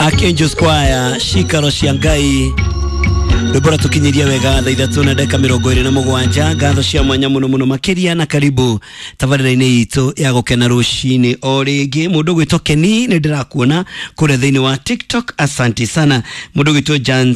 Archangel Squire cikaro cia Ngai rwĩmbo rũratũkinyĩria wega thaa ithatũ na ndagĩka mĩrongo ĩrĩ na mũgwanja. Ngatho cia mwanya mũno mũno makĩria na karibu tabarĩra-inĩ itũ ya gũkena rũcinĩ o rĩngĩ. Mũndũ gwĩtwo Keni nĩ ndĩrakuona kũrĩa thĩinĩ wa TikTok, asanti sana. Mũndũ gwĩtwo Jan,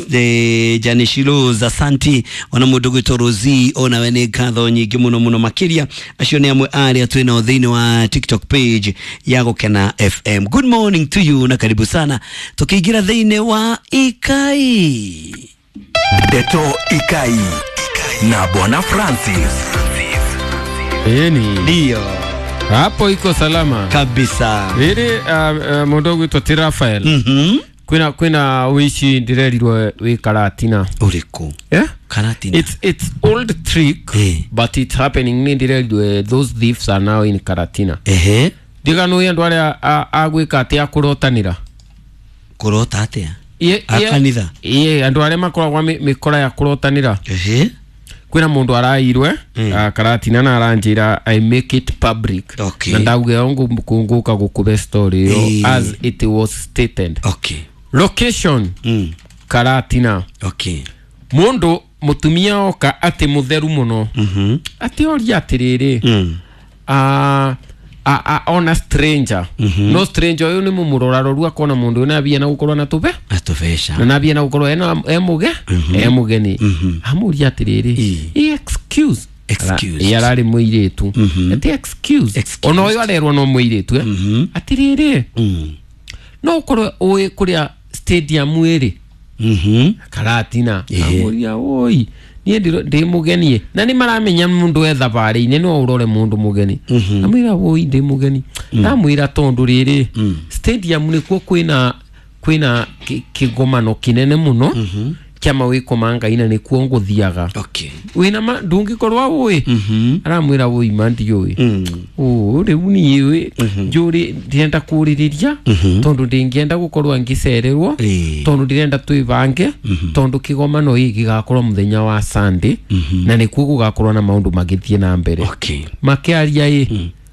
Janishilos, asanti. Ona mũndũ gwĩtwo Rosie, onawe nĩ ngatho nyingĩ mũno mũno makĩria. Acio nĩ amwe arĩa twĩ nao thĩinĩ wa TikTok page ya Gũkena FM. Good morning to you na karibu sana tukiingira thĩinĩ wa Ikai. Ndeto Ikai na Bwana Francis. Ĩni Ndio hapo iko salama kabisa. Rĩrĩ mũndũ ũgwĩtwo ti Rafael. Kwĩna ũici ndĩrerirwo wĩ Karatina. Ũrĩkũ? Yeah? Karatina. It's old trick. Eh. But it's happening. Nĩ ndĩrerirwo those thieves are now in Karatina. Ehe. Ndiganũĩ andũ arĩa a gwĩka atĩ a kũrotanĩra. Kũrota atĩa? A kanitha? Ĩĩ, andũ arĩa makoragwo mĩkora ya kũrotanĩra. Ehe. Kwĩna mũndũ arairwe Karatina na aranjĩra I make it public. Okay. Na ndauge ngũka gũkũbe story ĩyo as it was stated. Location, Karatina. Mũndũ mũtumia oka atĩ mũtheru mũno atĩ oria atĩrĩrĩ, ona stranger, no stranger ũyũ nĩ mũmũrora roru akona mũndũ ũyũ nambia na gũkorwo na tũbe Na tũbeca. Na nambia na gũkorwo ena e mũgeni amũria atĩrĩrĩ, "Eh, excuse." Excuse. Ĩ, ararĩ mũirĩtu atĩ excuse. Excuse. Ona ũyũ arerwo no mũirĩtu atĩrĩrĩ, no ũkorwo ũĩ kũrĩa stadium ĩrĩ Karatina. Amũria, "Oi, niĩ ndĩ mũgeni," na nĩ maramenya mũndũ e thabarĩ-inĩ no ũrore mũndũ mũgeni. Amwĩra, "Oi, ndĩ mũgeni." Ndamwĩra tondũ rĩrĩ stadium nĩkuo kwĩna kĩgomano kĩnene mũno kĩa mawĩko ma Ngai na nĩkuo ngũthiaga. Wĩna ma ndũngĩkorwo ũĩ. Aramwĩra, "Wũi, ma ndiũĩ." Ũ rĩu niĩ njũrĩ ndĩrenda kũrĩrĩria tondũ ndĩngĩenda gũkorwo ngĩcererwo tondũ ndĩrenda twĩbange tondũ kĩgomano gĩkĩ gĩgakorwo mũthenya wa Sunday na nĩkuo gũgakorwo na maũndũ magĩthiĩ na mbere. Makĩaria ĩ.